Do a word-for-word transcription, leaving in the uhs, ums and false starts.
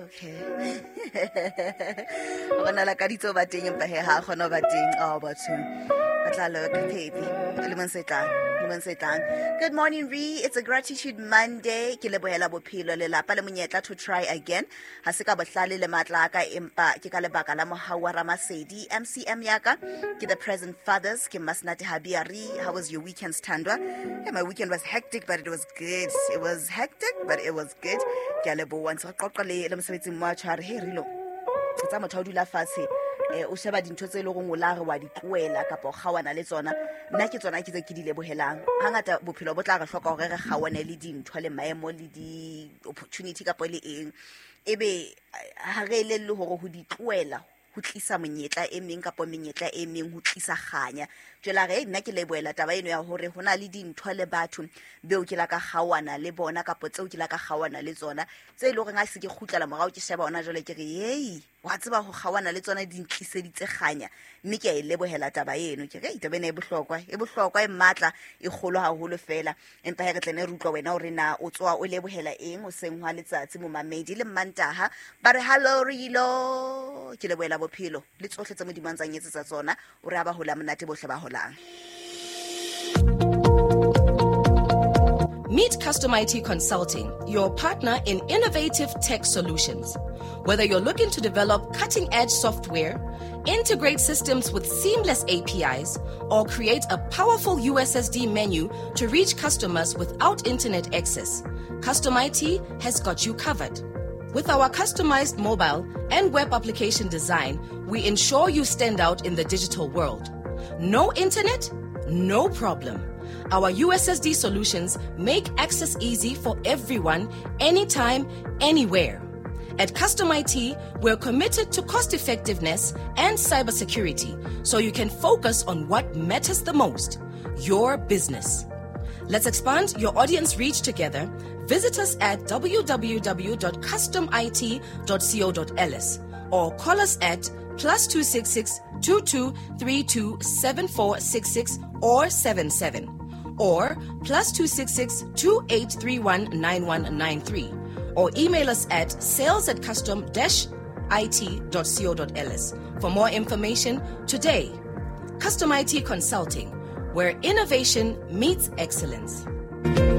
Okay, o bona lakaditse ho ba teng, empa he ha a kgona ho ba teng. Oh, batho ba tla loka, baby, lemong se tlang, lemong se tlang. Good morning, re. It's a gratitude Monday. Ke lebohela bophelo, lelapa le monyetla to try again. Ha se ka bohlale le matla a ka, empa ke ka lebaka la mohau wa Ramasedi. M C M yaka ke the present fathers, ke Masnati Habiari. How was your weekend, Thandwa? Yeah, my weekend was hectic, but it was good. It was hectic, but it was good. Ke a leboha. Ntse re qoqa le le mosebetsing mo a tshware he rilo tsa motho ha o dula fatshe, eh, o sheba dintho tse e leng gore o la re wa di tlohela kapa o kgaoana le tsona. Nna ke tsona ke tse ke di lebohelang. Hangata bophelo bo tla re hloka hore re kgaoane le dintho le maemo le di-opportunity kapa le eng, ebe ha re elelle hore ho di tlohela ho tlisa monyetla e meng kapa menyetla e meng, ho tlisa kganya. Jwale a re nna ke lebohela taba eno ya hore ho na le dintho le batho beo ke la ka kgaoana le bona kapa tseo ke la ka kgaoana le tsona, tse e leng horeng ha se ke kgutlela morao, ke sheba hona jwale, ke re ei, wa tseba, ho kgaoana le tsona di ntliseditse kganya, mme ke a e lebohela taba eno. Ke re taba ena e bohlokwa, e bohlokwa, e matla, e kgolo haholo fela. Empa he re tlene re utlwa wena hore na o tswa o lebohela eng hoseng hwa letsatsi, momamedi. Le Mmantaha ba re hallo rilo, ke lebohela bophelo le tsohle tse Modimo a ntsang etsetsa tsona. O re a ba hola monate bohle ba holang. Meet Custom I T Consulting, your partner in innovative tech solutions. Whether you're looking to develop cutting edge software, integrate systems with seamless A P Is, or create a powerful U S S D menu to reach customers without internet access, Custom I T has got you covered. With our customized mobile and web application design, we ensure you stand out in the digital world. No internet? No problem. Our U S S D solutions make access easy for everyone, anytime, anywhere. At Custom I T, we're committed to cost effectiveness and cybersecurity so you can focus on what matters the most, your business. Let's expand your audience reach together. Visit us at w w w dot customit dot co dot l s or call us at plus two six six two two three two seven four six six or seven seven or plus two six six two eight three one nine one nine three or email us at sales at custom dash it dot co dot l s for more information today. Custom I T Consulting, where innovation meets excellence.